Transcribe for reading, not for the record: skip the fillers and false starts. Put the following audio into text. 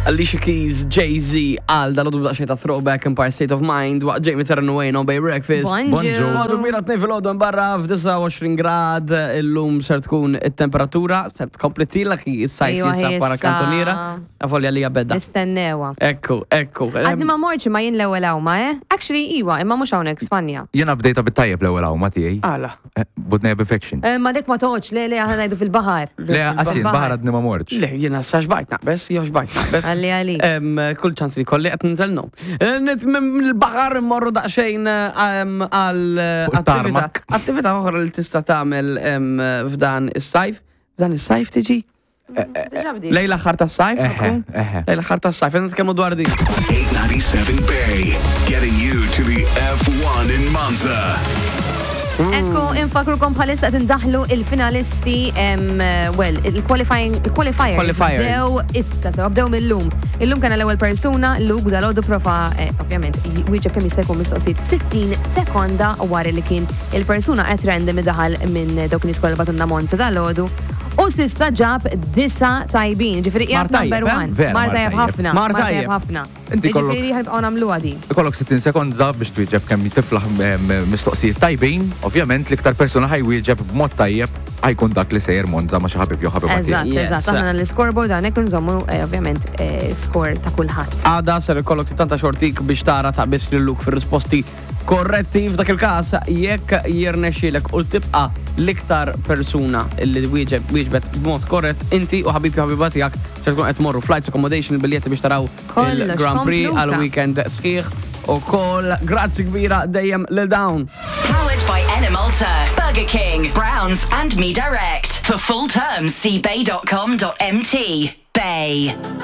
Alicia Keys, Jay-Z, għal dal daqsxejn ta' throwback Empire State of Mind, waqt Jamie Terran Wayne on Bay Breakfast. Bonġu. Għadu mira t fil-ħodu barra f-29 grad, illum ser tkun it-temperatura, ser tkompli tilak is-sajf Ejwa, jinsab wara issa. kantoniera, għafolja li bedda. Nistennewa. Ekku, ekku. Għadni ma morċi ma jien l-ewwel għawma, eh? Actually, iwa, imma mhux hawnhekk Spanja. Jena bdejta bit-tajjeb l-ewwel għawma tiegħi. Għala. Eh, Budnejja b'infection. Eh, Ma dik ma toqgħodx, le le aħna ngħidu fil-baħar. Le, għasin, baħar għadni ma morċ. Le, jena sa xbajt naqbes, jew xbajt naqbes. Għalli għalli. Em, Kull ċans li kolli qed ninżel no. Eh, Mill-baħar immorru daqsxejn em, għal eh, Fuq attività it-tarmak. attività oħra li tista' tagħmel em, f'dan is-sajf. F'dan is-sajf tiġi? Diġà bdiet. Lejla aħħar tas-sajf? Eħe, tkun? eħe. Lejla aħħar tas-sajf, qed nitkellmu dwar din. 897 Bay, getting you to the F1 in Monza. Ekku, infakrukom bħalissa qed indaħlu il-finalisti, em, well, il-qualifying, il-qualifiers. Qualifiers. Bdew issa, sew bdew mill-lum. Illum kena l-ewwel persuna, Luke dal-għodu prova, eh, ovvjament, wieġeb kemm jista' jkun mistoqsijiet f'60 sekonda wara li kien il-persuna qed random daħal minn dawk nies kollha batunna Monza dal-għodu. U sissa ġab disa tajbin, ġifieri Mar qiegħed tajjeb, number eh? one. Vera, Mar mar tajjeb tajjeb. ħafna. Mar Mar tajjeb tajjeb. ħafna. Inti kollok- Ġifieri ħanibqgħu nagħmluha din. Ikollok 60 sekonda biex twieġeb kemm tiflaħ em, mistoqsijiet tajbin, ovvjament l-iktar persuna ħajwieġeb b'mod tajjeb ħajkun dak li sejjer Monza ma' xi ħabib jew ħabiba tiegħek. Eżatt, Yes. eżatt. Aħna l-scoreboard hawnhekk nżommu eh, ovvjament eh, score ta' kulħadd. Għada ser ikollok tanta xortik biex tara ta' biss lil Luke fir-risposti korretti f'dak il-każ jekk jirnexxielek u tibqa' l-iktar persuna li wieġeb wieġbet b'mod korrett inti u ħabib jew ħabiba tiegħek ser tkun qed tmorru flights accommodation il-biljetti biex taraw Kollox il-Grand Prix kompluta. għal weekend sħiħ u koll grazzi kbira dejjem lil dawn. Powered by Enemalta, Burger King, Browns, and Me Direct. For full terms, see bay.com.mt. Bay.